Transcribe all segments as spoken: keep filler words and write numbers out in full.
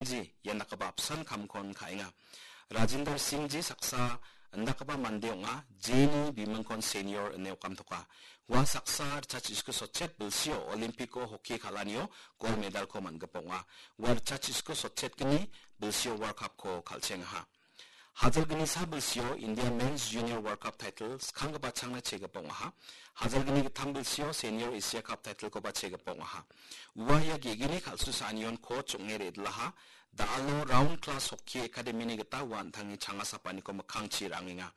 Ji, ian dakgipa apsan kamkon ka·enga. Rajinder Singh ji saksa indakgipa mande ong·a, jeni bimingkon senior ine okamtoka. Ua saksa ritchachiko sotchet bilsio Olympic-o hockey kal·anio gold medal-ko man·gipa ong·a. Ua ritchachiko sotchetgni bilsio World Cup-ko kal·chengaha. Hajalgnisa bilsio India Men's Junior World Cup title skanggipa changna chegipa ong·aha. Hajalgni gittam bilsio Senior Asia Cup title-koba chegipa ong·aha. Ua ia gegini kal·susaanion coach ong·e re·dilaha. Da·alo Round Class Hockey Academy-ni gita ua an·tangni changasapaniko mikkangchi ra·angenga.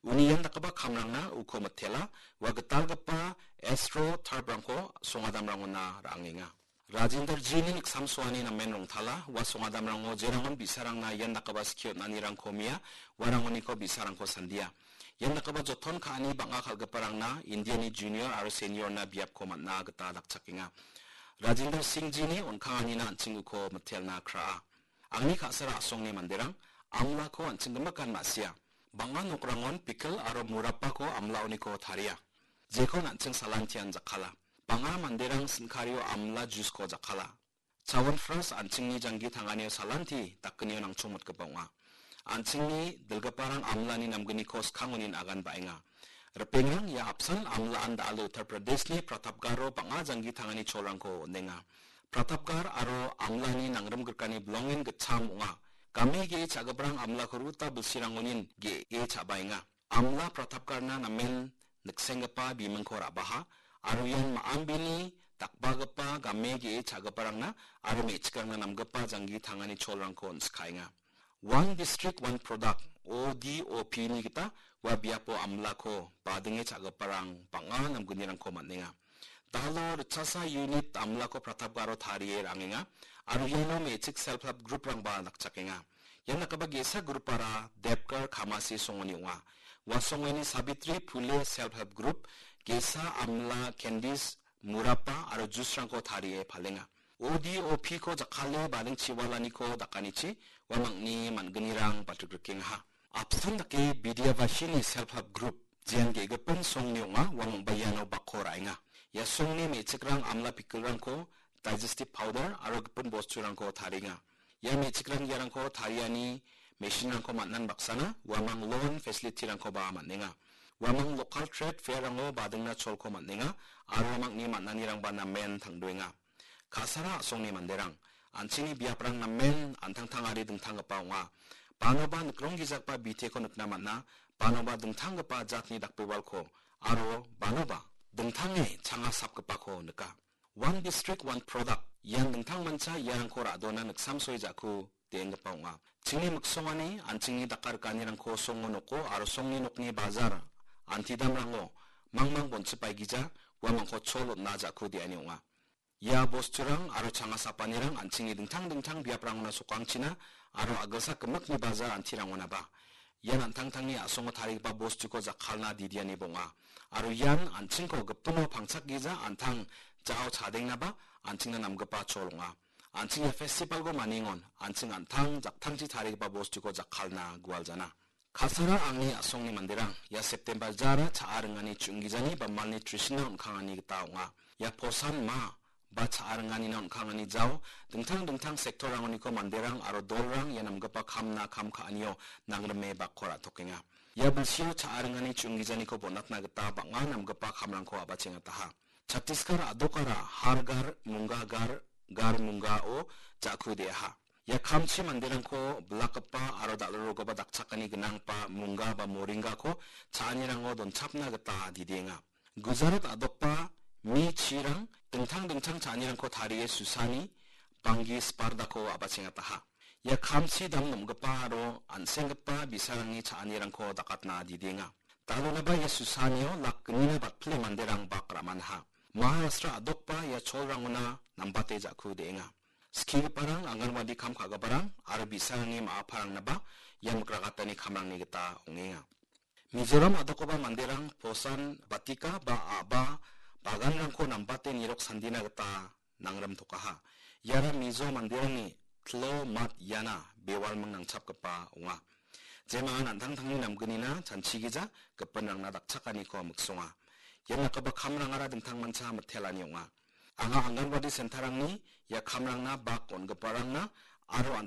Uni ian dakgipa kamrangna uko mitela, ua gitalgipa Astro Turf-rangko songadamrangona ra·angenga. Rajinder G-ni niksamsoani namen rongtala, ua songadamrango jerangon bi·sarangna ian dakgipa skie on·anirangko mia, uarangoniko bi·sarangko sandia. Ian dakgipa joton ka·ani bang·a kal·giparangna Indiani junior aro senior-na biapko man·a gita dakchakenga. Rajinder Singh G-ni on·kanganina an·ching uko mitelna kraa. Angni ka·sara a·songni manderang amlako an·ching gimikan ma·sia. Bang·a nokrangon pickle aro murapako amlaoniko taria. Jekon an·ching salantian jakkala. Bang·a manderang sin·kario amla juice-ko jakkala. Chyawanprash an·chingni janggi tanganio salanti dakgnio nangchongmotgipa ong·a. An·chingni dilgiparang amlani namgniko skangonin agan ba·enga. Ripengrang ia apsan amlaan da·alo Uttar Pradeshni Pratapgaro bang·a janggi tangani cholrangko on·enga. Pratapgar aro amlani nangrimgrikani bilongen gitcham ong·a. Game ge·e cha·giparang amlako ruta bilsirangonin ge·e cha·baenga. Amla Pratapgarna namen niksenggipa bimingko ra·baha, aro ian ma·ambini dakbagipa game ge·e cha·giparangna aro me·chikrangna namgipa janggi tangani cholrangko on·sikaenga. One District, One Product, O D O P-ni gita ua biapo amlako badinge cha·giparang bang·a namgnirangko man·enga. Da·alo ritchasa unit amlako Pratapgaro tarie ra·angenga, aro iano me·chik self help group-rangba dakchakenga. Ian dakgipa ge·sa group-ara Depgar Khamasi songoni ong·a. Ua songoni Savitri Phule Self Help Group, ge·sa amla candies, murapa aro juice-rangko tarie palenga. O D O P-ko jakkale bading chiwalaniko dakanichi uamangni man·gnirang balrikrikengaha. Apsan dake Bidyavashini Self Help Group, jean ge·gipin songni ong·a, uamangba iano bakko ra·enga. Ia songni me·chikrang amla pickle-rangko, digestive powder aro gipin bosturangko tarienga. Ia me·chikrang iarangko tariani machine-rangko man·an baksana uamang loan facility-rangkoba man·enga. Uamang local trade fair-rango badingna cholko man·enga aro uamangni man·anirangba namen tangdoenga. Ka·sara a·songni manderang, an·chingni biaprang namen an·tangtangari dingtanggipa ong·a. Banoba nikronggijagipa biteko nikna man·a, banoba dingtanggipa jatni dakbewalko, aro banoba dingtange changasapgipako nika. One District, One Product, ian dingtangmancha iarangko ra·dona niksamsoe ja·ku de·enggipa ong·a. Chingni miksongani an·chingni dakarikanirangko songo noko aro songni nokni bajar, antidamrango mangmang bonchipaigija, uamangko chol on·na ja·ku de·ani ong·a. Ia bosturang aro changasapanirang an·chingni dingtang dingtang biaprangona sokangchina aro a·gilsak gimikni bajar antirangonaba ian an·tangtangni a·songo tarigipa bostuko jakkalna didiani bonga. Aro ian an·chingko gipino pangchakgija an·tang ja·o chadengnaba an·chingna namgipa chol ong·a. An·ching ia festivalko maningon an·ching an·tang jaktangchi tarigipa bostuko jakkalna gualjana. Kasara angni a·songni manderang, ia September jara cha·a ringani chu·inggijani ba malnutrition-na on·kangani gita ong·a. Ia posan ma ba cha·a ringanina on·kangani jao, dingtang dingtang sector-rangoniko manderang aro dolrang ia namgipa kamna kam ka·anio nangrime bakko ra·tokenga. Ia bilsio cha·a ringani chu·inggijaniko bonatna gita bang·a namgipa kamrangko a·bachengataha. Chhattisgarh a·dokara Har Ghar Munga Ghar Ghar Munga-o ja·ku de·aha. Ia kamchi manderangko bilakgipa aro dal·rorogipa dakchakani gnanggipa munga ba moringako cha·anirango donchapna gita didienga. Gujarat a·dokba mi chirang dingtang dingtang cha·anirangko tarie susani banggi spardako a·bachengataha. Ia kamchi dam nom·gipa aro an·senggipa bi·sarangni cha·anirangko dakatna didienga. Dalonaba ia susanio lak gnina batpile manderang bak ra·manaha. Maharashtra a·dokba ia cholrangona nambate ja·ku de·enga. Skigiparang, anganwadi kam ka·giparang aro bi·sarangni ma·aparangnaba ia mikragatani kamrangni gita ong·enga. Mizoram a·dokgipa manderang posan batika ba a·ba baganrangko nambate nirok sandina gita nangrimtokaha. Iara Mizo manderangni tlo mat iana bewalming nangchapgipa ong·a. Jemangan an·tangtangni namgnina chanchigija gipinrangna dakchakaniko miksonga. Ia dakgipa kamrangara dingtangmancha mitelani ong·a. Anga anganwadi sentarangni ia kamrangna bak on·giparangna aro an